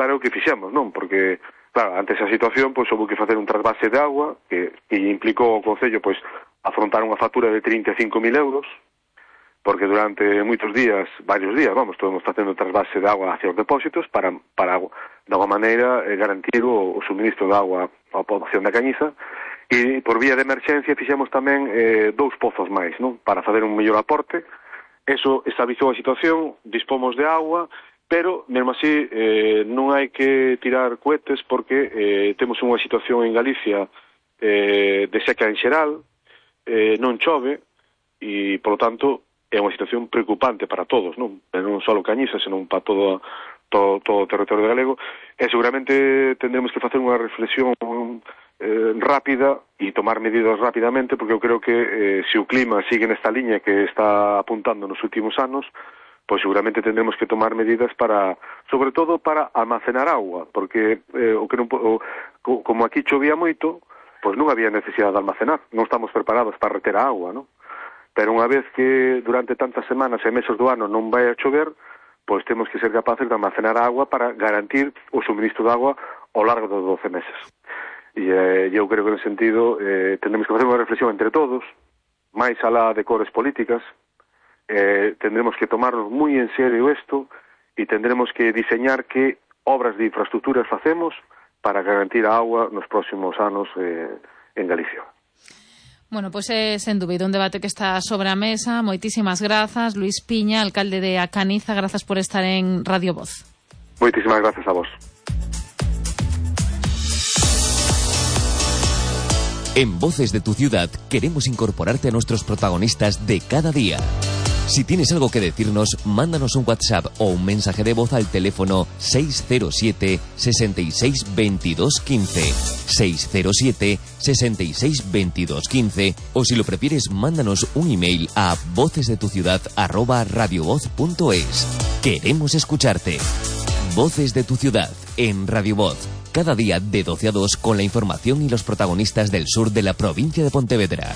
para o que fixemos, non? Porque, claro, ante esa situación, pois, houve que facer un trasvase de agua que implicou ao Concello, pois, afrontar unha factura de 35.000 euros, porque durante moitos días, varios días, vamos, estamos facendo trasvase de agua hacia os depósitos para de alguma maneira, garantir o suministro de agua á poboación da Cañiza, e por vía de emerxencia fixemos tamén 2 pozos máis, non? Para fazer un mellor aporte. Eso estabilizou a situación, dispomos de agua, pero, mesmo así, non hai que tirar cohetes porque temos unha situación en Galicia de seca en xeral, non chove, e, polo tanto, é unha situación preocupante para todos, non só Cañiza, senón para todo o territorio galego, e seguramente tendremos que facer unha reflexión rápida e tomar medidas rapidamente, porque eu creo que se o clima sigue nesta liña que está apuntando nos últimos anos, pois seguramente tendremos que tomar medidas para, sobre todo para almacenar agua, porque como aquí chovía moito, pois non había necesidade de almacenar, non estamos preparados para reter a agua, non? Pero unha vez que durante tantas semanas e meses do ano non vai a chover, pois temos que ser capaces de almacenar agua para garantir o suministro de agua ao largo dos 12 meses. E eu creo que, en sentido, tendremos que facer unha reflexión entre todos, máis alá de cores políticas, tendremos que tomarnos moi en serio isto e tendremos que diseñar que obras de infraestructuras facemos para garantir a agua nos próximos anos en Galicia. Bueno, pois é sen dúbida un debate que está sobre a mesa. Moitísimas grazas, Luís Piña, alcalde de A Caniza, grazas por estar en Radio Voz. Moitísimas grazas a vos. En Voces de tu Ciudad queremos incorporarte a nuestros protagonistas de cada día. Si tienes algo que decirnos, mándanos un WhatsApp o un mensaje de voz al teléfono 607 66 22 15, 607 66 22 15, o si lo prefieres, mándanos un email a vocesdetuciudad@radiovoz.es. Queremos escucharte. Voces de tu Ciudad en Radio Voz. Cada día de 12 a 2 con la información y los protagonistas del sur de la provincia de Pontevedra.